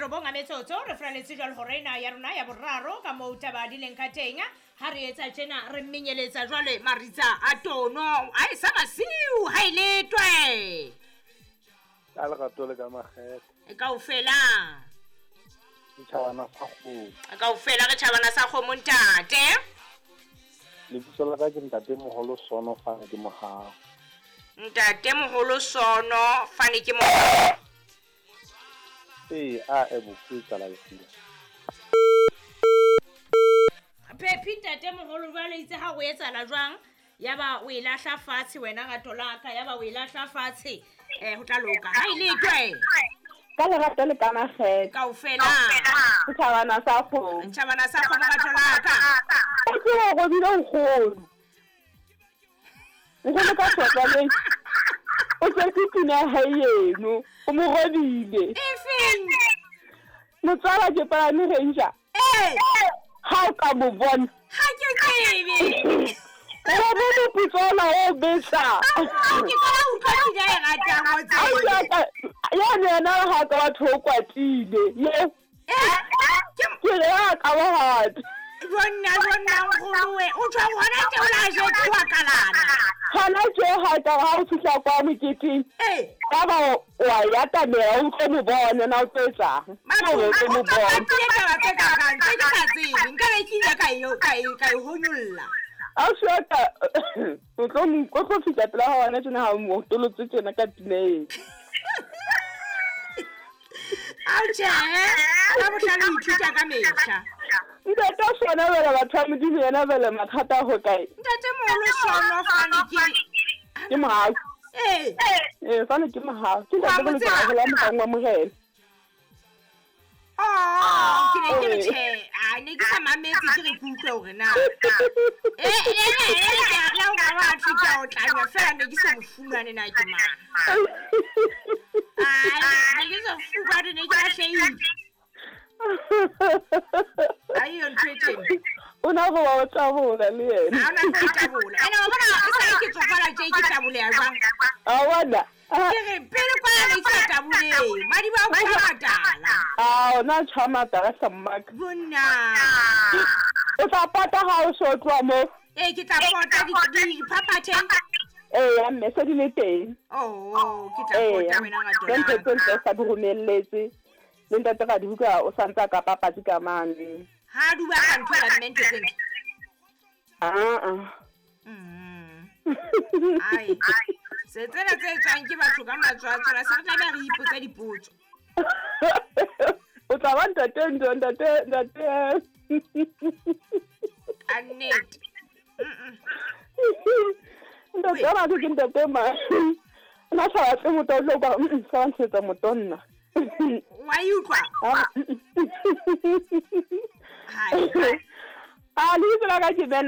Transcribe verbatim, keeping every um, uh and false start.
robong a metsotso re fraletse jwale hore ena ya rona ya boraro ka moo taba di leng ka teng. Ha re etsa tjena re mmenyeletsa jwale maritsa a tono a e sa masiu ha e letwe. Ka lerato le ka makgethe. Kaofela. Tjhabana sa kgomo. Kaofela re tjhabana sa kgomo ntate. Lebitso la ka ke ntate moholo Sono Fane ke Mohau. Ntate moholo Sono Fane ke Mohau. Ee, a e bofutsa la lefila. Phephi ntate moholo jwale itse ha o etsala jwang ya ba o e lahla fatshe wena rato la ka ya ba o e lahla fatshe eh ho tla loka ha ile twe. Ka lerato le ka makgethe. Kaofela. Tjhabana sa kgomo. Tjhabana sa kgomo rato la ka. Ke o robile nkgono. Nkgono ka tswaleng. O tswetse pina ya hae eno, o mo robile. Efeng? Motswala ke palame Ranger. Eh. Ha o ka mo bona. Ha ke tsebe. O robile putsola o betsa. Ke ka utlwa pina e ratang o tsebe. Ya ne yena ha ka batho o kwatile. Ye. Eh. Ke re a ka ba hati. Bonna bonna nkgono o tswa hona tje o la jetse wa kalana. Hona tje ha ka ha o fihla kwa moketeng. Eh. Ka ba wa ya tabela o tlo mo bona na o tlo etsang. O tlo mo bona. Ke taba tse ka kang tse ke sa tsebe nka be ke ile ka e ka e ka e honyolla. A shota o tlo mo o tlo fihla pela ha wena tjena ha o mo tolotse tjena ka pina. Au tje, ka bohlale o ithuta ka mehla. Ntate Sono bele batho ba Modimo yena bele mathata ho kae? Ntate moholo Sono Fane ke ke Mohau. Eh. Eh, Fane ke Mohau. Ke ntate le tsela la mohau wa Morena. Oh, ke ne ke re tjhe, a ne ke sa mametse ke re ke utlwe hore na. Eh, eh, eh, la o ka wa thutha o tlanya fela ne ke sa mo fumane na ke mang. Ai, ne ke sa fumane ne ke lahlehile. Ai, o ntho e tjena. O na go wa tabola le yena. Ha ona go tabola. Ene wa bona e sa ke tsofala tje ke taboleya jwang? A bona. Ke re pele kwa ne ke sa tabole. Madi ba o matala. Ah, ona tjha matala sa mmaka. Bonna. O tla pota ha o so tloha mo. Eh, ke tla pota di di phaphathe. Eh, ya mme se di le teng. Oh, ke tla pota wena nga tona. Ke ntse ntse sa di romelletse. Le ntate ga di buka o santsa ka papatsi ka mane. Ha duba ka ntho la mme ntho tse ntle. Ah ah. Mm. Ai. Se tsena tse tswang ke batho ka matswatswa la se re tlameha re ipotse dipotso. O tla ba ntate ntho ntate ntate. Ka nnete. Ntate ba ke ntate ma. Nna sa batle motho o tlo ka sa ntshetsa motonna. Wa e utlwa? Hai. Ah, le itse la ka ke